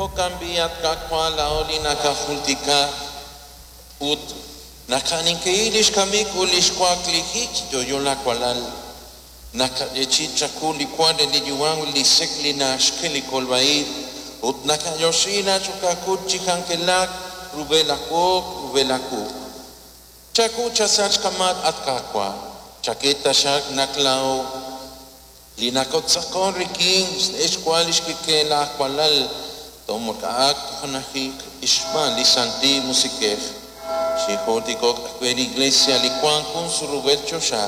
Jo'kan b'i' at Qaawa' laa'o li nakajultika ut naqaninkei lix kamik ut lix waklijik chi yo'yo laawalal. Nakayeechi'i chawu li wa re li yu'am ut li sek' li naxk'e li kolb'a-ib', ut nakayoxi nach'okakut chi k'anjelak rub'el laawoq rub'el laawuq'. Chaku chasach kamat at Qaawa', chak'e taxaq naq laa'o li nakotz'aqon rik'in xwa lix kik'el laawalal tomok'a'aq tojunajik xb'aan li Santil Musiq'ej. Xijultiko'k ajwi' li Iglesia li wank jun surub'el choxa,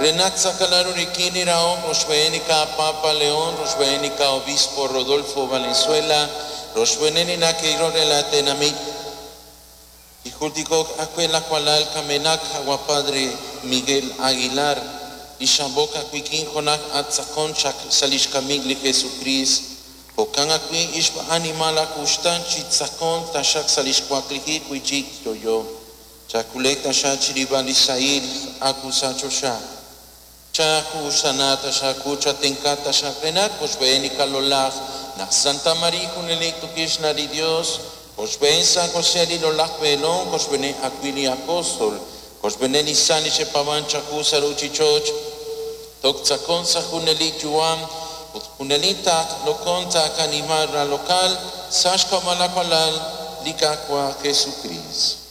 re naq tz'aqalaru rik'in li rahom rochb'een li Papa León, rochb'een li Obispo Rodolfo Valenzuela, rochb'een li nake'ilok re la tenamit. Xijultiko'k ajwi' laawalal kamenaq qawa' Padre Miguel Aguilar, li xab'ok ajwi' jo'naq attz'aqon chaq sa' lix kamik li Jesucristo. Jo'kan ajwi' ixb'aanimal akuxtan chi tz'aqon taxaq sa' lix waklijik wi'chik yo'yo. Chakulek taxaq chirib'al li sahil akusa choxa. Chakuxana taxaq chatenka taxaq renaq koxb'een li kalolaj naq Santa María junelik tukixna li Dios, koxb'een San José li lolaj b'eelom, koxb'een ajwi' li apóstol, koxb'een li san li xepaban chaku sa' ruchich'och', tok tz'aqon sa' junelik yu'am, ut junelik taq lokon taqanimal ra lokal sa' xk'ab'a' laawalal li Qaawa' Jesucristo.